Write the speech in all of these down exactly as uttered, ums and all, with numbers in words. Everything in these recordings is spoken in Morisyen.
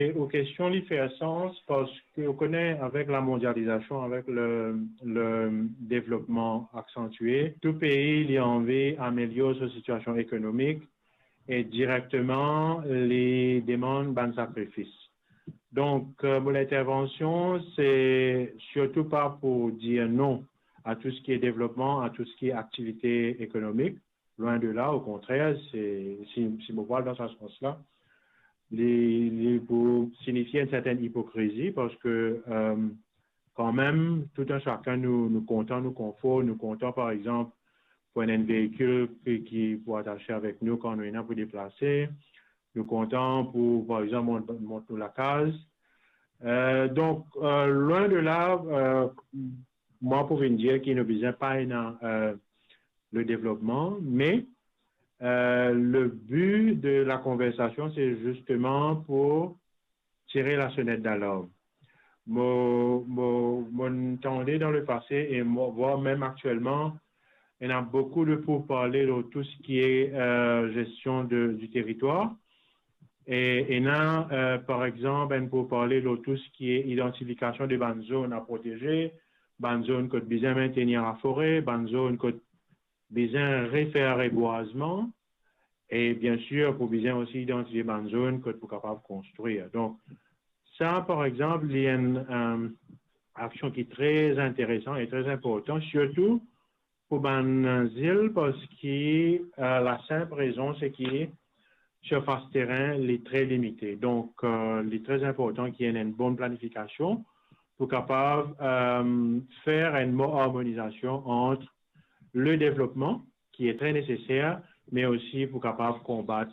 E ou kestion li fer sans parski ou kone avek lamondializasion, avek le, le devlopman aksantie, tou pei li anvi amelior so sitiasion ekonomik e direkteman li demann bann sakrifis. Donk, euh, mo lintervansion, se sirtou pa pou dir non a tou seki devlopman, a tou seki aktivite ekonomik. Loin de la, okontrer, se, si, si mo vwar dan sa sans la, li, li pou sinifie enn sertenn ipokrizi, parski, euh, kanmem, tou enn sakenn nou, nou kontan nou konfor, nou kontan, par exanp, pou enn, enn veikil ki, ki pou atase avek nou kan nou ena pou deplase, nou kontan pou, par exanp, mont, mont nou lakaz. Euh, donk, euh, loin de la, euh, mwa pou vinn dir ki nou bizin pa ena, euh, le devlopman, me, euh, le bi de lakonversasion, se zisteman pou tire lasonet dalarm. Mo, mo, mo'nn tande dan lepase e mo, vwar mem aktielman, ena boukou de pourparle lor tou seki, euh, gestion de, du territoire. E ena, euh, par exanp, enn pourparle lor tou seki idantifikasion de bann zonn a proteze, bann zonn kot bizin mentenir lafore, bann zonn kot bizin refer rebwazman, e biensir pou bizin osi idantifie bann zonn kot pou kapav konstrir. Donk, sa, par exanp, li enn, euh, aksion ki tre interesan e tre inportan, sirtou pou bann zil, parski, euh, lasinp rezon se ki sirfas terin li tre limite. Donk, euh, li tre inportan ki ena enn bon planifikasion pou kapav, euh, fer enn bon armonizasion ant le devlopman, ki e tre neseser, me osi pou kapav konbat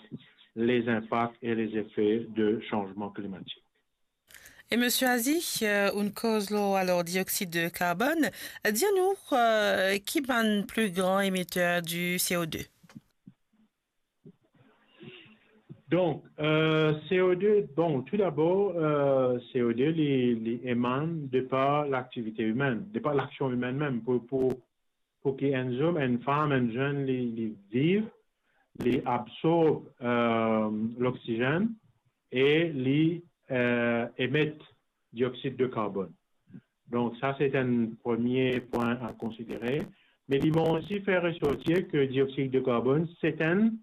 les inpak e les efe de sanzman klimatik. E Misie Azi, euh, ou'nn koz lor alor dioxyde de carbone, dir nou, euh, ki bann pli gran émetteur du C O deux? Donk, euh, C O deux, bon, tou dabor, euh, C O deux, li, li emann de par laktivite imenn, de par laksion imenn mem. Pou, pou, pou ki enn zom, enn fam, enn zenn, li, li viv, li absorb, euh, loksizenn e li, euh, emet dioxyde de carbone. Donk, sa, se enn premie pwin a konsidere. Me li bon osi fer resortir ki dioxyde de carbone, se enn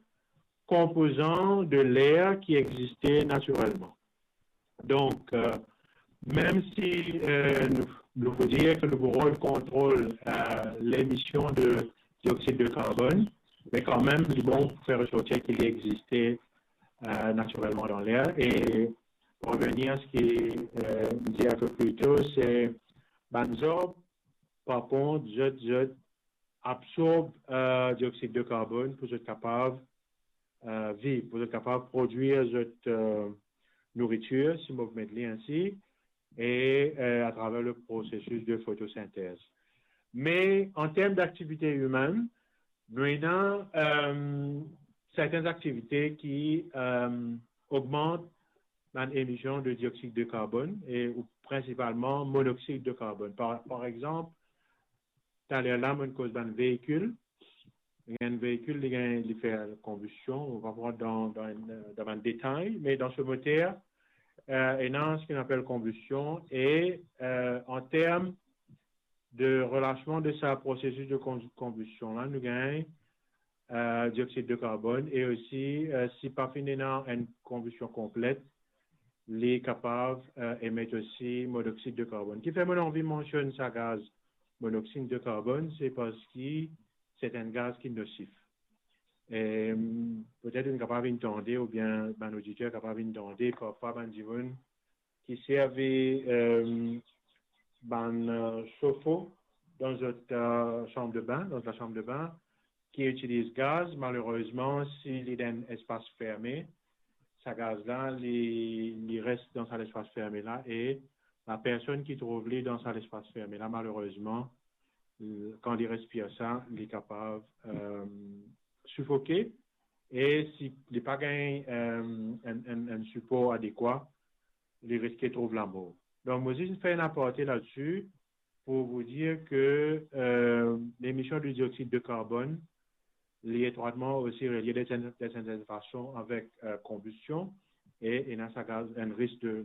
konpozan de ler ki existe natirelman. Donk, euh, mem si, euh, nou, nou pou dir ki nou pou rod kontrol, euh, lemision de dioxyde de carbone, me kanmem, li bon fer resortir ki li existe, euh, natirelman dan ler. E pou revenir a seki, euh, mo dir enpe pli to, se bann zarb, par kont, zot, zot absorb, euh, dioxyde de carbone pou zot kapav, euh, viv, pou zot kapav prodwir zot, euh, nouritir, si mo pou met li ainsi, e, euh, atraver le prosesis de fotosintez. Me an term daktivite imenn, nou ena, euh, sertenn aktivite ki, euh, ogmant bann emision de dioxyde de carbone e, ou prinsipalman monoxyde de carbone. Par, par exanp, taler la, mo'nn koz bann veikil. Enn veikil, li gagn, li fer konbistion, nou pa pou rant dan, dan, dan bann detay, me dan so moter, euh, ena seki nou apel konbistion e, euh, an term de relasman de sa prosesis de kon-, konbistion la, nou gagn, euh, dioxyde de carbone e osi, euh, si pa finn ena enn konbistion konplet, li kapav, euh, emet osi monoxyde de carbone. Kifer mo'nn anvi mansionn sa gaz monoxyde de carbone, se parski se enn gaz ki nosif. E, petet ou'nn kapav vinn tande, oubien bann oditer kapav vinn tande, parfwa bann dimoun ki servi, euh, bann, euh, sofo dan zot, euh, sanm de bin, dan zot lasanm de bin, ki itiliz gaz, malerezman, si li dan enn espas ferme, sa gaz la, li, li res dan sa lespas ferme la, e lapersonn ki trouv li dan sa lespas ferme la, malerezman, euh, kan li respir sa, li kapav, euh, sifoke, e si li pa gagn, euh, enn, enn, enn sipor adekwa, li riske trouv lamor. Donk, mo zis fer enn aparte ladsi pou vou dir ki, euh, lemision de dioxyde de carbone, li etrwatman osi relie de sertenn, de sertenn fason avek, euh, konbistion. e ena sa gaz, enn risk de